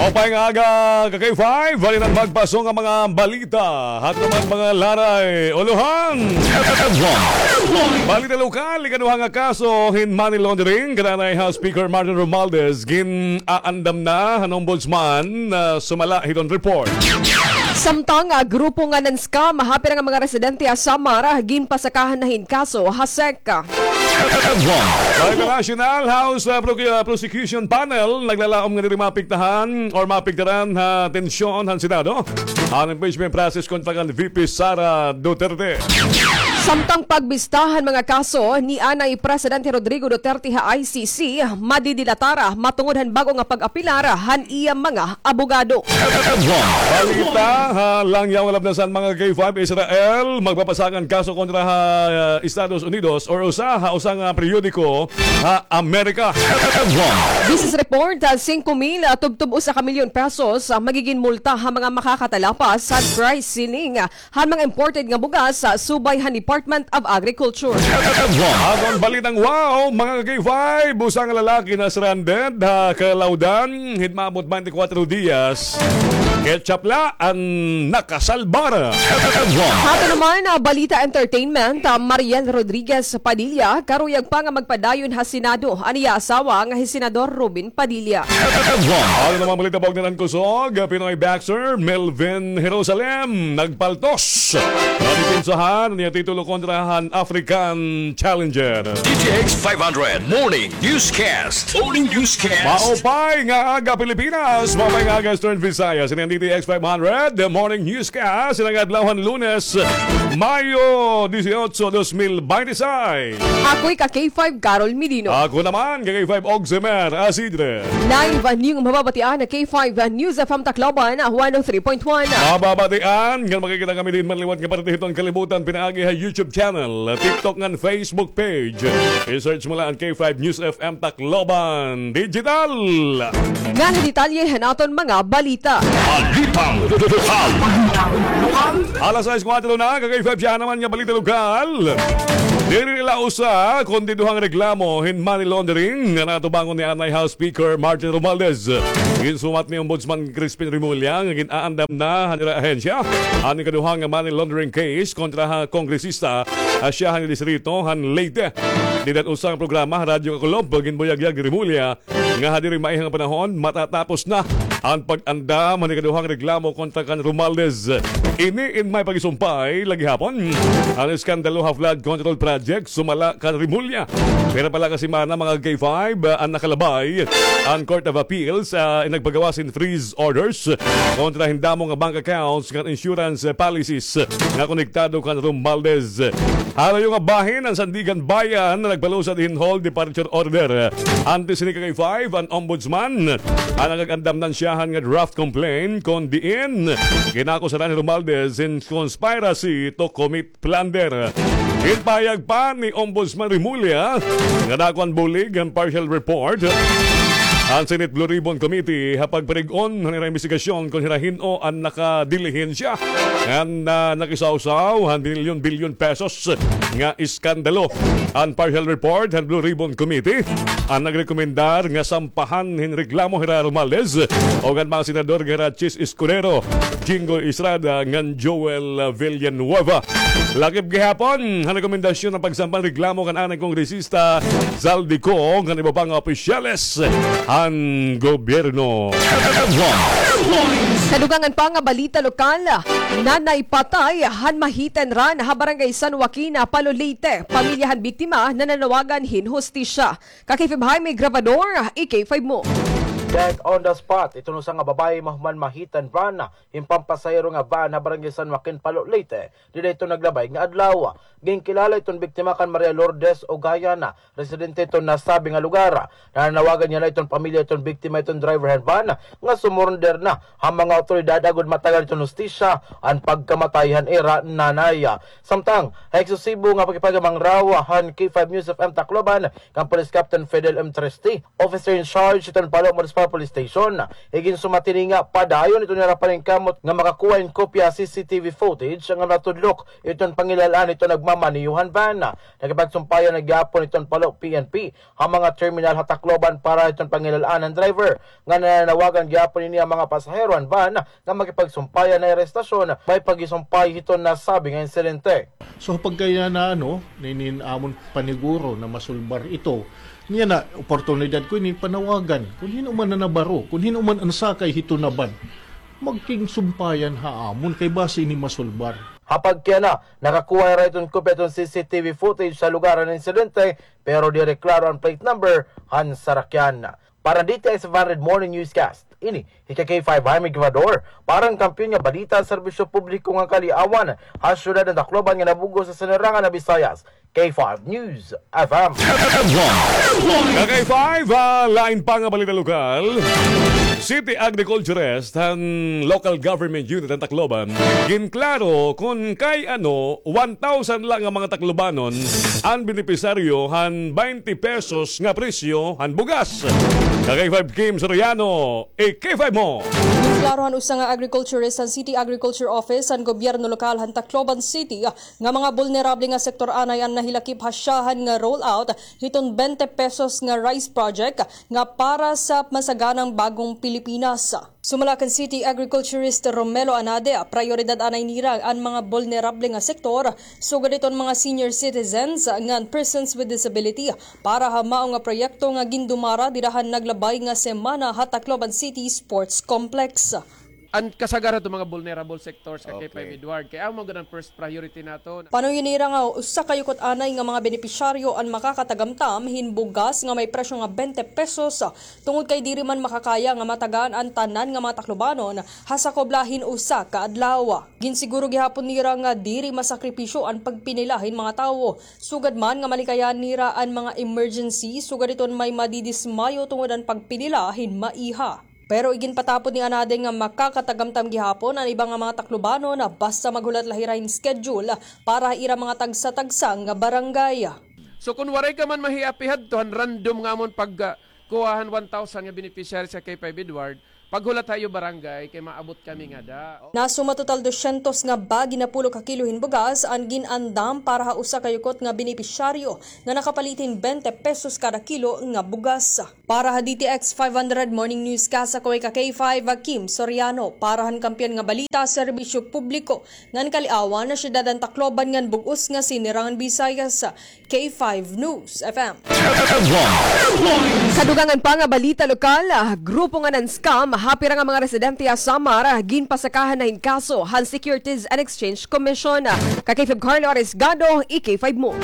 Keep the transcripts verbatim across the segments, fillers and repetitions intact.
Maupay nga aga, ka K five, balitan magpaso nga mga balita. Hato man mga laray, ulohan. Balita lokal, ikaduha nga kaso hin money laundering kan anay House Speaker Martin Romualdez, gin-aandam na han Ombudsman, ah, sumala hiton report. Samtang, ah, grupo nga nan-scam ha pira nga mga residente ha Samar, ah, ginpasakahan na hin kaso ha SEC. Sa international, House, ah, Procu-, ah, Prosecution Panel naglalaom nga diri maapektahan or maapektaran ha tensyon han Senado an impeachment process kontra kan V P Sara Duterte. Samtang pagbista han mga kaso ni anay Presidente Rodrigo Duterte ha I C C, madidilatar matungod han bag-o nga pag-apilar han iya mga abogado. Balita ha langyaw nga labnasan, mga K five, Israel magpapasakan kaso kontra ha, ah, Estados Unidos or usa ha usa nga periodiko ha Amerika. This is report, ah, singko mil, ah, tubtob usa ka milyon pesos, ah, magigin multa ha mga makakatalapas han price ceiling, ah, han mga imported nga bugas, ah, subay han Department of Agriculture. Aton balitang wow, mga K five, usa nga lalaki na-stranded ha Calaudan hin maabot twenty-four dias. Ketchup la an nakasalbar. Hato naman, ah, balita entertainment, ah, Mariel Rodriguez Padilla, karuyag pa nga magpadayon ha Senado an iya asawa nga hi Senador Robin Padilla. Ano namang balita, Bogdan Kusog, Pinoy boxer Melvin Jerusalem nagpaltos. Nadipinsahan niya titulo kontra han African Challenger. D T X five hundred Morning Newscast. Morning Newscast. Maupay nga aga, Pilipinas. Maupay nga aga, Eastern Visayas. Ini an D T X five hundred, the Morning Newscast. Ini an adlaw han Lunes, Mayo dieciocho, dos mil veintiséis. Ako'y ka K five, Carol Medino. Ako naman, ka K five, Oximer Asidre. Live niyo nga mababatian na K five News F M Tacloban, one oh three point one. Mababatian nga makikita kami diin man liwat nga parte hiton kalibutan pinaagi ha YouTube channel, TikTok ngan Facebook page. I-search mo la an K five News F M Tacloban Digital. Ngan detalye han aton mga balita. Balitang lokal. Alas sais kuwatro na, ka K five, siya naman nga balita lokal. Diri la usa kundi duhang reklamo hin money laundering nga natubangon ni anay House Speaker Martin Romualdez. Ginsumat ni Ombudsman Crispin Remulla nga gin-aandam na han ira ahensya an ikaduha nga money laundering case kontra ha kongresista ha siyahan nga distrito han Leyte. Dida usa nga programa ha Radyo Kakulop, ginbuyagyag ni Remulla nga ha diri maiha nga panahon matatapos na an pag-andam han ikaduhang reklamo kontra kan Romualdez. Ini in may pagisumpay la gihapon an iskandalo ha flood control project sumala kan Remulla. Pira pa la ka semana, mga K five, an nakalabay an Court of Appeals, ah, in nagpagawas hin freeze orders kontra hin damo nga bank accounts ngan insurance policies nga konektado kan Romualdez. Ha layo nga bahin an Sandiganbayan nga nagpalusad hin hold departure order. Antes hini, ka K five, an Ombudsman an nag-andam nan siyahan nga draft complaint kon diin ginakusaran hi Romualdez hin conspiracy to commit plunder. Ginpahayag pa ni Ombudsman Remulla nga dako an bulig han partial report han Senate Blue Ribbon Committee ha pagparig-on han ira imbestigasyon kon hira hin-o an nakadilihensya ngan, ah, nakisawsaw han bilyon-bilyon pesos nga iskandalo. An partial report han Blue Ribbon Committee an nagrekomendar nga sampahan hin reklamo hira Romualdez ug an mga senador nga hira Chiz Escudero, Jinggoy Estrada ngan Joel Villanueva. Lakip gihapon han rekomendasyon an pagsampa hin reklamo kan anay kongresista Zaldy Co ngan iba pa nga opisyales han gobyerno. Sa dugangan pa nga balita lokal, nanay patay han ma-hit and run ha Barangay San Joaquin, Palo, Leyte. Pamilya han biktima nananawagan hin hustisya. Ka K five Jaime Grabador, i-K five mo. Dead on the spot iton usa nga babaye mahuman ma-hit and run hin pampasahero nga van ha Barangay San Joaquin, Palo, Leyte. Dida iton naglabay nga adlaw. Ginkilala iton biktima kan Maria Lourdes Ugayan, residente iton nasabi nga lugar. Nananawagan niya na iton pamilya iton biktima iton driver han van nga sumurrender na ha mga awtoridad agod matagan iton hustisya an pagkamatay han ira nanay. Samtang ha eksklusibo nga pakigpahigamanghiraw han K five News F M Tacloban kan Police Captain Fidel M. Triste, officer in charge iton Palo Municipal Police Station. Iginsumat hini nga padayon iton nira paningkamot nga makakuha hin kopya ha C C T V footage nga natudlok iton pangilal-an iton nagmamaneho han van. Nakipagsumpayan na gihapon iton Palo P N P ha mga terminal ha Tacloban para iton pangilal-an han driver, nga nananawagan gihapon ini ha mga pasahero han van nga makipagsumpayan ha estasyon, may paghisumpay hiton nasabi nga insidente. So, pagkaya na, ano, ninin amon paniguro na masulbar ito. Niya na, oportunidad ko ini panawagan. Kun hin-o man an nabaro, kun hin-o man an sakay hito na van, magkigsumpayan ha amon, kay basi ini masulbar. Ha pagkaya na, nakakuha hira hiton kopya hiton C C T V footage sa lugar han insidente, pero diri klaro an plate number han sarakyan. Para han D T X five hundred Morning Newscast, ini hi K K five Jaime Givador, para han Kampiyon nga Balita, Serbisyo Publiko nga Kaliawan, ha siyudad han Tacloban nga nabug-os sa Sinirangan nga Visayas, K five News F M. Ka K five, ah, lain pa nga balita lokal. City Agriculturist han Local Government Unit han Tacloban, ginklaro kon kay ano, one thousand la nga mga Taclobanon an benepisaryo han twenty pesos nga presyo han bugas. Ka K five Kim Soriano, i-K five mo. Ginklaro han usa nga agriculturist han City Agriculture Office han gobyerno lokal han Tacloban City nga mga bulnerable nga sektor anay an nahilakip ha syahan nga rollout hiton twenty pesos nga rice project nga para sa masaganang bagong Pilipinas. Sumala kan City Agriculturist Romelo Anade, prayoridad anay nira an mga bulnerable nga sektor, sugad hiton mga senior citizens ngan persons with disability, para ha mao nga proyekto nga gindumara dida han naglabay nga semana ha Tacloban City Sports Complex. An kasagaran hiton mga vulnerable sectors, ka K five Edward, kay amo gud an first priority naton. Panuyon nira nga usa ka yukot anay nga mga benepisyaryo an makakatagamtam hin bugas nga may presyo nga twenty pesos, tungod kay diri man makakaya nga matagaan an tanan nga mga Taclobanon ha sakob la hin usa ka adlaw. Ginsiguro gihapon nira nga diri masakripisyo an pagpinila hin mga tawo, sugad man nga malikayan nira an mga emergency, sugad hiton may madidismayo tungod an pagpinila hin maiha. Pero iginpatapod ni Anade nga makakatagamtam gihapon an iba nga mga Taclobanon basta maghulat la hira hin schedule para ha ira mga tagsa-tagsa nga barangay. So, kon waray ka man mahiapi hadto han random nga amon pag, ah, kuha han one thousand nga beneficiaries sa K five Edward, paghulat ha iyo barangay kay maabot kami ngada. Nasuma total dosyentos nga bagi napulo ka kilo hin bugas an gin-andam para ha usa ka yukot nga benepisyaryo nga nakapalit hin twenty pesos kada kilo nga bugas. Para ha D T X five hundred Morning Newscast, ako hi ka K five, Kim Soriano. Para han Kampiyon nga Balita, Serbisyo Publiko ngan Kaliawan, ha siyudad han Tacloban ngan bug-os nga Sinirangan Visayas, K five News F M. Kadugangan pa nga balita lokal, grupo nga nan-scam ha pira nga mga residente ha Samar, ginpasakahan na hin kaso han Securities and Exchange Commission. Ka K five Carlo Arisgado, i-K five mo.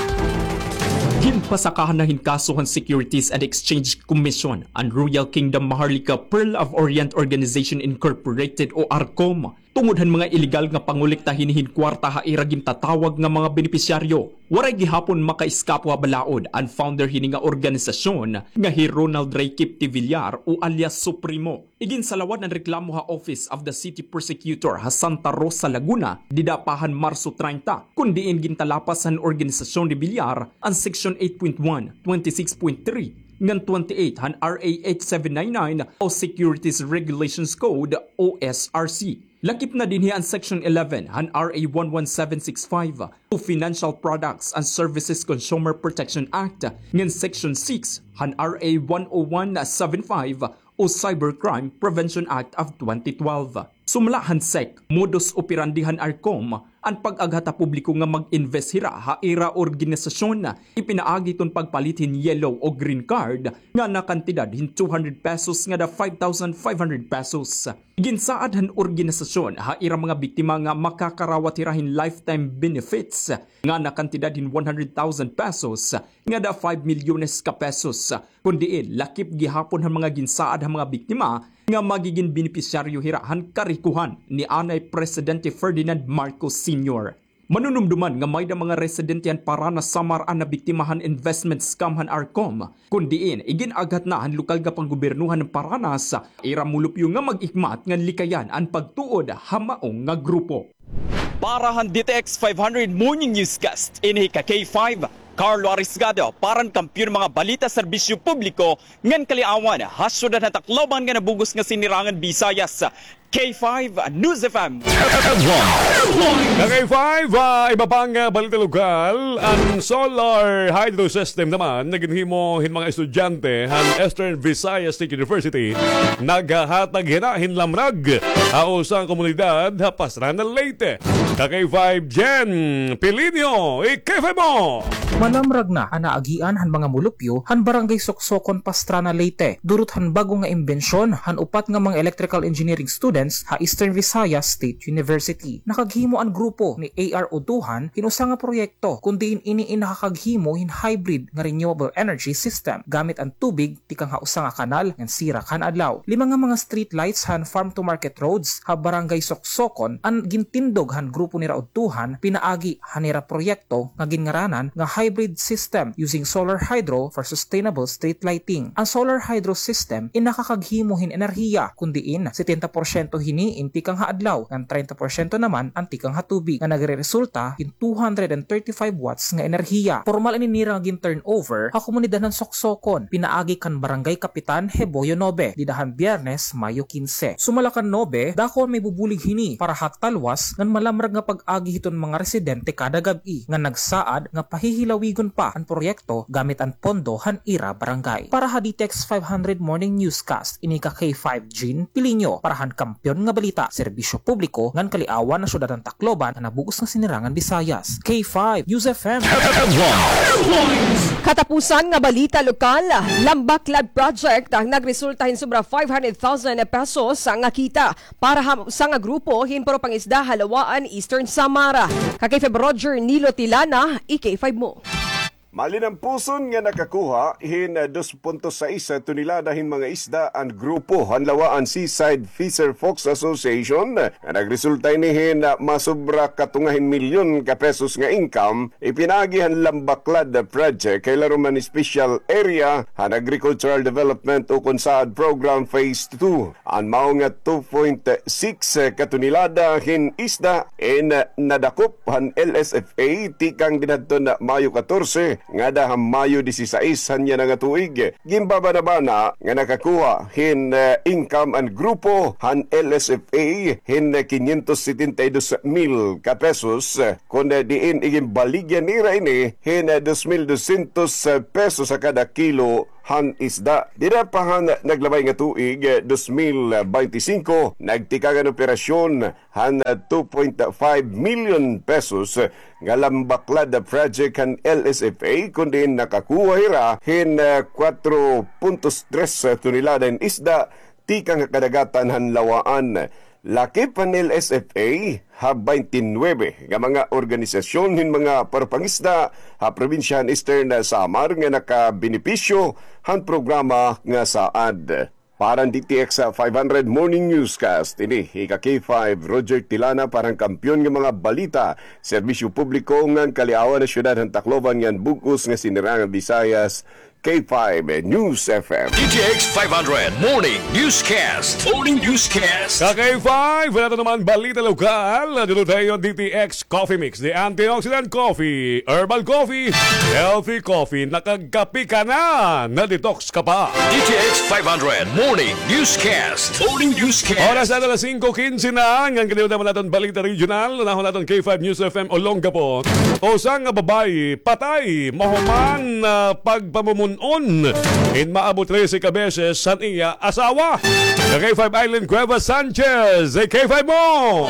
Ginpasakahan na hin kaso han Securities and Exchange Commission an Royal Kingdom Maharlika Pearl of Orient Organization Incorporated o ARCOM tungod han mga iligal nga pangolekta hini hin kwarta ha ira gintatawag nga mga benepisyaryo. Waray gihapon makaiskapo ha balaod an founder hini nga organisasyon nga hi Ronald Ray Kip Tivillar o alias Supremo. Iginsalawad an reklamo ha Office of the City Prosecutor ha Santa Rosa, Laguna, dida pa han Marso treinta, kon diin gintalapas han organisasyon ni Villar an Section eight point one, twenty-six point three, ngan twenty-eight han R A eight seven nine nine o Securities Regulations Code o S R C. Lakip na dinhi an Section eleven han R A one one seven six five o Financial Products and Services Consumer Protection Act, ngan Section six han R A one oh one seven five o Cybercrime Prevention Act of twenty twelve. Sumala han sec, modus operandi han ARCOM an pag-aghat ha publiko nga mag-invest hira ha ira organisasyon. Ipinaagi iton pagpalit hin yellow o green card nga nakantidad hin two hundred pesos ngada five thousand five hundred pesos. Ginsaad han organisasyon ha ira mga biktima nga makakarawat hira hin lifetime benefits nga nakantidad hin one hundred thousand pesos ngada five milyones ka pesos. Kon diin, lakip gihapon han mga ginsaad han mga biktima nga magigin benepisyaryo hira han karikohan ni anay Presidente Ferdinand Marcos Senior. Manunumduman nga mayda mga residente han Paranas, Samar an nabiktima han investment scam han ARCOM, kon diin igin-aghat na han lokal nga panggobyernohan han Paranas ira mulupyo nga mag-ikmat ngan likayan an pagtuod ha maong nga grupo. Para han D T X five hundred Morning Newscast, ini hi ka K five, Carlo Arisgado, para han Kampiyon nga mga Balita, Serbisyo Publiko ngan Kaliawan, ha syudad han Tacloban nga nabug-os nga Sinirangan Visayas, K five News F M. Ka K five, ah, iba pang, ah, balita lokal, an solar hydro system naman nga ginhimo hin mga estudyante han Eastern Visayas State University naghatag hira hin lamrag ha usa nga komunidad ha Pastrana, Leyte. Ka K five Jen Pilinio, i-K five mo! Malamrag na an naagian han mga mulupyo han Barangay Soksokon, Pastrana, Leyte, durot han bag-o nga imbensyon han upat nga mga electrical engineering students ha Eastern Visayas State University. Nakaghimo an grupo ni A R Utuhan hin usa nga proyekto, kun diin ini in nakakaghimo hin hybrid nga renewable energy system gamit an tubig tikang ha usa nga kanal ngan sirak han adlaw. Lima nga mga street lights han farm to market roads ha Barangay Soksokon an gintindog han grupo nira udtuhan pinaagi han ira proyekto nga ginngaranan nga hybrid system using solar hydro for sustainable street lighting. An solar hydro system in nakakaghimo hin enerhiya, kun diin setenta porsyento hini in tikang ha adlaw, ngan treinta porsyento naman an tikang ha tubig, nga nagreresulta hin two hundred and thirty-five watts nga enerhiya. Pormal ini nira nga gin-turnover ha komunidad han Soksokon, pinaagi kan Barangay Kapitan Heboyo Nobe, dida han Biyernes, Mayo kinse. Sumala kan Nobe, dako an may bubulig hini para ha talwas ngan malamrag nga pag-agi hiton mga residente kada gab-i, nga nagsaad nga pahihilawigon pa an proyekto gamit an pondo han ira barangay. Para ha D T X five hundred Morning Newscast, ini ka K five Jean Pilinio, para han Kampiyon nga Balita, Serbisyo Publiko ngan Kaliawan, ha syudad han Tacloban, nga nabug-os nga Sinirangan Visayas. K five News F M. Katapusan nga balita lokal, Lambaklad Project ang nagresulta hin sobra five hundred thousand pesos nga kita para ha usa nga grupo hin puro pangisda ha Lawaan, Eastern Samar. Ka K five Roger Nilo Tilana, i-K five mo. Malinampuson nga nakakuha hin dos punto sais tonelada hin mga isda an grupo han Lawaan Seaside Fisher Folks Association, nga nagresulta ini hin masobra katunga hin milyon ka pesos nga income, ipinaagi han Lambaklad Project, kay larom han Special Area han Agricultural Development ukon SAAD Program Phase two. An mao nga two point six ka tonelada hin isda in nadakop han L S F A tikang dinhadton Mayo katorse ngada ha Mayo disisais han yana nga tuig. Ginbabanabana nga nakakuha hin, eh, income an grupo han L S F A hin quinientos setenta y dos mil ka pesos, eh, kon, eh, diin iginbaligya nira ini hin, eh, dos mil dosyentos pesos ha kada kilo han isda. Dida pa han naglabay nga tuig, eh, dos mil beinti singko, nagtikang an operasyon han, eh, two point five million pesos, eh, nga Lambaklad Project han L S F A, kon diin nakakuha hira hin, eh, kwatro puntos tres tonelada hin isda tikang ha kadagatan han Lawaan. Lakip han L S F A ha baynte nuwebe nga mga organisasyon hin mga parpangisda ha probinsya han Eastern Samar nga nakabenepisyo han programa nga SAAD. Para han D T X five hundred Morning Newscast, ini ika K five Roger Tilana para han Kampiyon nga mga balita, serbisyo publiko ngan kaliawan ha syudad han Tacloban ngan bug-os nga Sinirangan Visayas, K five News F M. D T X five hundred Morning Newscast. Morning Newscast. Ka K five, wala ito naman balita lokal. Dito tayo, D T X Coffee Mix, the antioxidant coffee, herbal coffee, healthy coffee. Nakagkape ka na, na-detox ka pa. D T X five hundred Morning Newscast. Morning Newscast. Oras na alas singko kinse na. Ngan kaniyo naman naton balita regional. Unahon naton K five News F M Olongapo. Usa nga babayi patay mahuman, ah, pagpamumun-on hin maabot trese ka beses han iya asawa. Ka K five Eileen Cuevas Sanchez, eh, K five mo!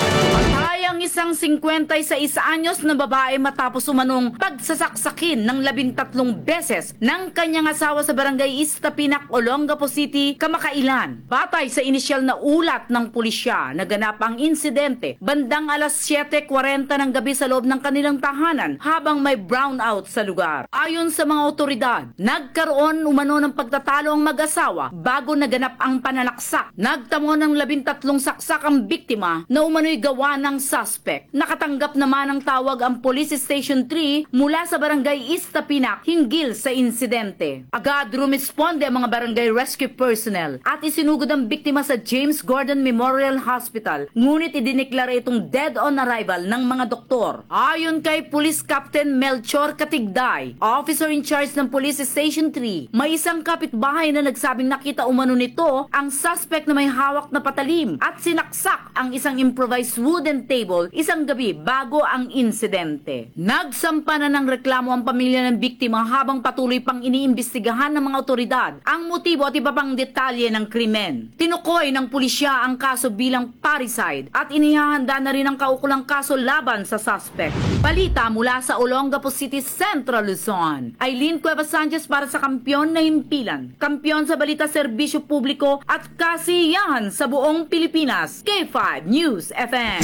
Patay ang isang singkwenta y seis anyos na babae matapos umanong pagsasaksakin ng labintatlong beses ng kanyang asawa sa Barangay Istapinac, Olongapo City, kamakailan. Batay sa inisyal na ulat ng pulisya, naganap ang insidente bandang alas siyete kwarenta ng gabi sa loob ng kanilang tahanan habang may brownout sa lugar. Ayon sa mga awtoridad, nagkaroon umano ng pagtatalo ang mag-asawa bago naganap ang pananaksak. Nagtamo ng labintatlong saksak ang biktima na umano'y gawa ng sas- suspect. Nakatanggap naman ng tawag ang Police Station three mula sa Barangay Istapinac hinggil sa insidente. Agad rumesponde ang mga barangay rescue personnel at isinugod ang biktima sa James Gordon Memorial Hospital, ngunit idineklara itong dead on arrival ng mga doktor. Ayon kay Police Captain Melchor Katigday, officer in charge ng Police Station three, may isang kapitbahay na nagsabing nakita umano nito ang suspect na may hawak na patalim at sinaksak ang isang improvised wooden table isang gabi bago ang insidente. Nagsampa na ng reklamo ang pamilya ng biktima habang patuloy pang iniimbestigahan ng mga otoridad ang motibo at iba pang detalye ng krimen. Tinukoy ng pulisya ang kaso bilang parricide at inihahanda na rin ang kaukulang kaso laban sa suspect. Balita mula sa Olongapo City, Central Luzon. Aileen Cuevas Sanchez para sa Kampiyon na Himpilan. Kampiyon sa balita, serbisyo publiko at kasiyahan sa buong Pilipinas. K five News F M.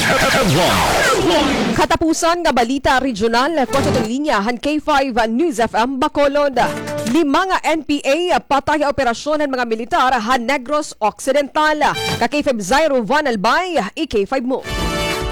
Katapusan nga balita regional, kontra linya han K five News F M Bacolod. Lima nga N P A patay ha operasyon han mga militar ha Negros Occidental. Ka K five Zairo Van Albay, i-K five mo.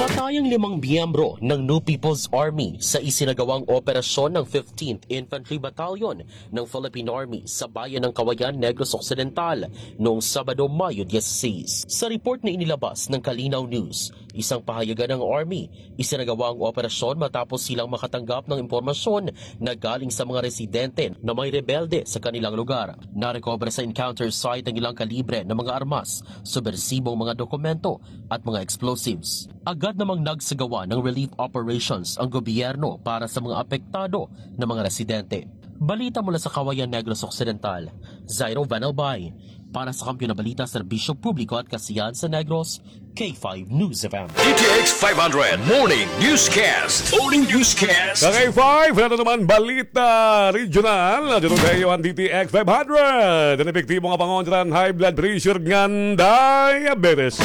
Patay ang limang miyembro ng New People's Army sa isinagawang operasyon ng fifteenth Infantry Battalion ng Philippine Army sa bayan ng Kawayan, Negros Occidental, noong Sabado, Mayo dieciséis. Sa report na inilabas ng Kalinaw News, isang pahayagan ng Army, isinagawa ang operasyon matapos silang makatanggap ng impormasyon na galing sa mga residente na may rebelde sa kanilang lugar. Narecover sa encounter site ang ilang kalibre na mga armas, subbersibong mga dokumento at mga explosives. Agad namang nagsagawa ng relief operations ang gobyerno para sa mga apektado na mga residente. Balita mula sa Kawayan, Negros Occidental, Zairo Van Albay. Para sa Kampiyon na Balita, Serbisyo Publiko at Kasiyahan sa Negros, K five News F M. D T X five hundred Morning Newscast. Morning Newscast. Sa K five, ito naman balita regional. Dito kayo ang D T X five hundred. An epektibo nga pangontra han high blood pressure ngan diabetes.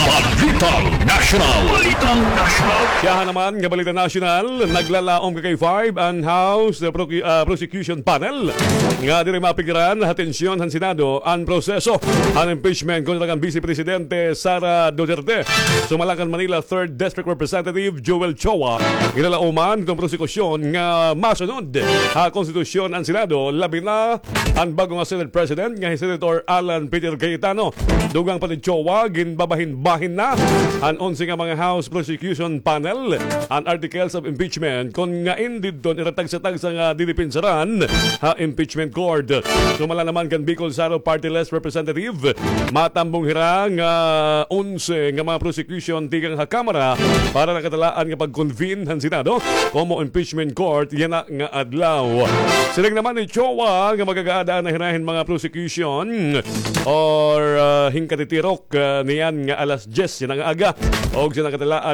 Balitang National. Balitang National. Siyahan naman nga balita national, naglalaom ka K five an House, uh, Procu-, uh, Prosecution Panel nga diri mapikiran ha atensyon han Senado an proseso han impeachment kontra kan Vice Presidente Sara Duterte. Sumala kan Manila Third District Representative Joel Chua, ginlalaoman kon prosekusyon nga masunod ha konstitusyon an Senado, labi na an bag-o nga Senate President nga hi Senator Alan Peter Cayetano. Dugang pa ni Chua, ginbabahin-bahin na han onse nga mga House Prosecution Panel an articles of impeachment kon ngan didton ira tagsa-tagsa nga didipinsaran ha impeachment court. Sumala naman kan Bicol Saro Party List Representative, matambong hira nga onse nga mga prosecution tikang ha Kamara para nakatalaan nga pag-convene han Senado komo impeachment court yana nga adlaw. Siring naman ni Chua nga magagaadaan na hira hin mga prosecution or, ah, hin katitirok, ah, niyan nga alas dyes yana nga aga og sa nakatalaan